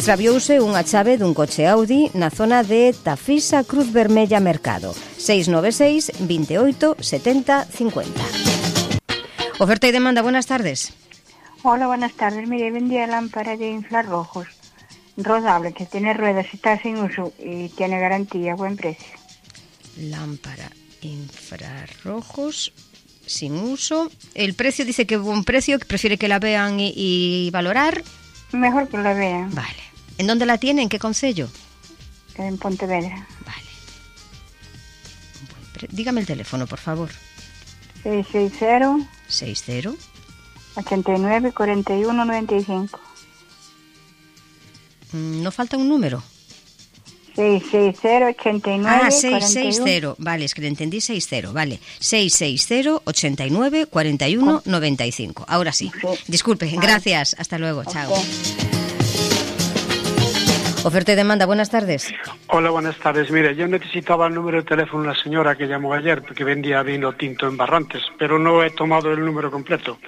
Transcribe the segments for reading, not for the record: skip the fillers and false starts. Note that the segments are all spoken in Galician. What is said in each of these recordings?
Extraviouse unha chave dun coche Audi na zona de Tafisa, Cruz Vermella, Mercado. 696 28 70 50. Oferta y demanda, buenas tardes. Hola, buenas tardes. Mire, vendía lámpara de infrarrojos rodable que tiene ruedas y está sin uso y tiene garantía, buen precio. Lámpara infrarrojos sin uso. El precio dice que buen precio, que prefiere que la vean y valorar. Mejor que la vean. Vale. ¿En dónde la tiene? ¿En qué concello? En Pontevedra. Vale. Dígame el teléfono, por favor. 660 60 89 41 95. ¿No falta un número? 660 89 660. 41. Vale, es que le entendí 60. Vale. 660 89 41 95. Ahora sí. Disculpe, gracias. Hasta luego. Chao. Oferta y demanda, buenas tardes. Hola, buenas tardes. Mire, yo necesitaba el número de teléfono de una señora que llamó ayer porque vendía vino tinto en Barrantes, pero no he tomado el número completo.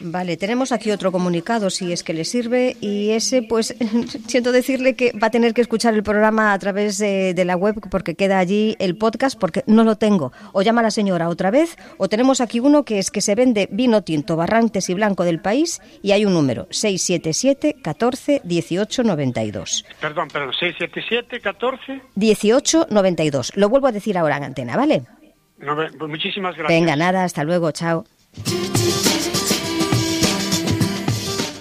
Vale, tenemos aquí otro comunicado, si es que le sirve, y ese, pues, siento decirle que va a tener que escuchar el programa a través de la web, porque queda allí el podcast, porque no lo tengo. O llama a la señora otra vez, o tenemos aquí uno que es que se vende vino tinto, Barrantes y Blanco del país, y hay un número, 677 14 18 92. Perdón, 677 14 18 92. Lo vuelvo a decir ahora en antena, ¿vale? Pues muchísimas gracias. Venga, nada, hasta luego, chao.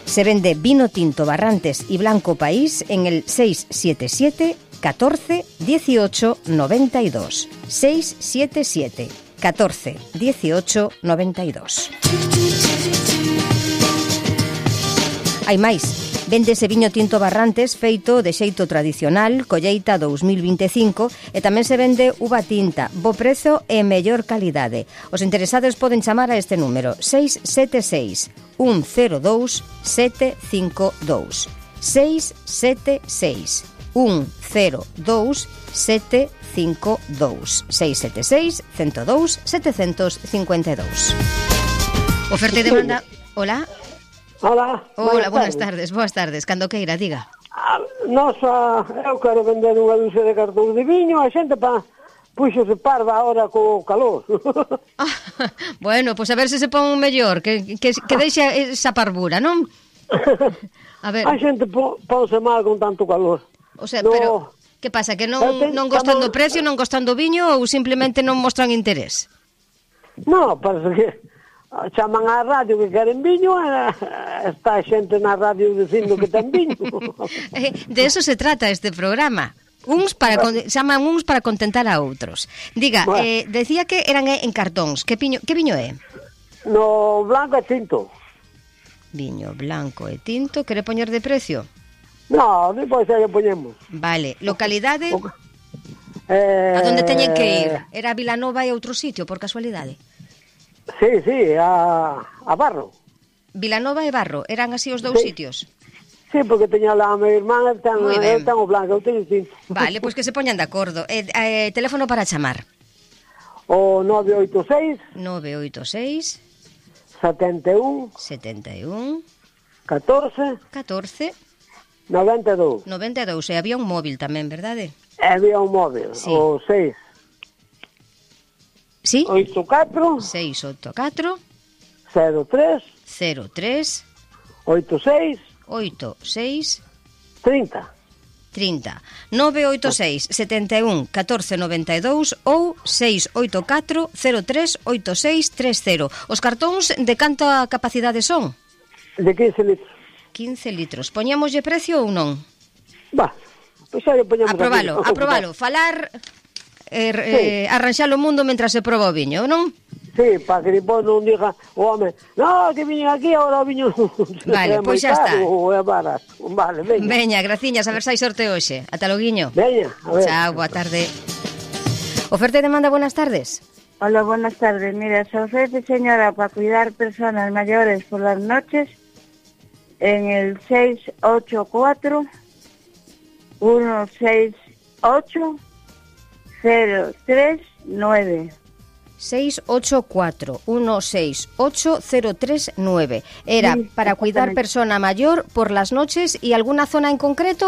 Se vende vino tinto, Barrantes y Blanco País en el 677 14 18 92. 677 14 18 92. Hai máis. Véndese viño tinto Barrantes feito de xeito tradicional, colleita 2025, e tamén se vende uva tinta, bo prezo e mellor calidade. Os interesados poden chamar a este número 676 102 752. 676 102 752. 676 102 752. Oferta e demanda. Hola. Hola, buenas tardes. Cando queira, diga. Eu quero vender unha dúcia de cartón de viño, a xente puxose parva agora co calor. Bueno, pois a ver se pon un mellor, que deixe esa parvura, non? A ver. A xente ponse mal con tanto calor. O sea, pero que pasa, que non gostan do precio, non gostan do viño ou simplemente non mostran interés? No, parece que chaman á radio que queren viño e está xente na radio dicindo que ten viño. De eso se trata este programa. Chaman uns para contentar a outros. Diga, decía que eran en cartóns. Que viño é? No, blanco e tinto. Viño blanco e tinto. Quere poñer de precio? No, depois aí poñemos. Vale, localidade? A donde teñen que ir? Era Vilanova e outro sitio, por casualidade? Sí, a Barro. Vilanova e Barro, eran así os dous sitios? Sí, porque teña lá a minha irmán, el ten o blanco, eu teño tinto. Vale, pois que se poñan de acordo. Teléfono para chamar? O 986 71 14 92. E había un móvil tamén, verdade? Había un móvil, sí. O 6 ¿Sí? 84 684 03 86 30 986 71 14 92 ou 684 03 86 30. Os cartóns de canta capacidade son? De 15 litros. 15 litros. Poñámoslle precio ou non? Pois xa lle poñamos. Aprobalo. Falar... arranxar o mundo mentre se proba o viño, non? Sí, para que depois non diga o home, no, que viñen aquí, agora o viño vale, pois xa está. Vale, veña, graciñas, a ver se hai sorte hoxe. Ata loguiño. Veña, a ver. Chao, boa tarde. Oferta e demanda, buenas tardes. Hola, buenas tardes. Mira, se ofrece, señora, para cuidar personas mayores por las noches en el 684 168 039. 684 168 039. Era para cuidar persona mayor por las noches y alguna zona en concreto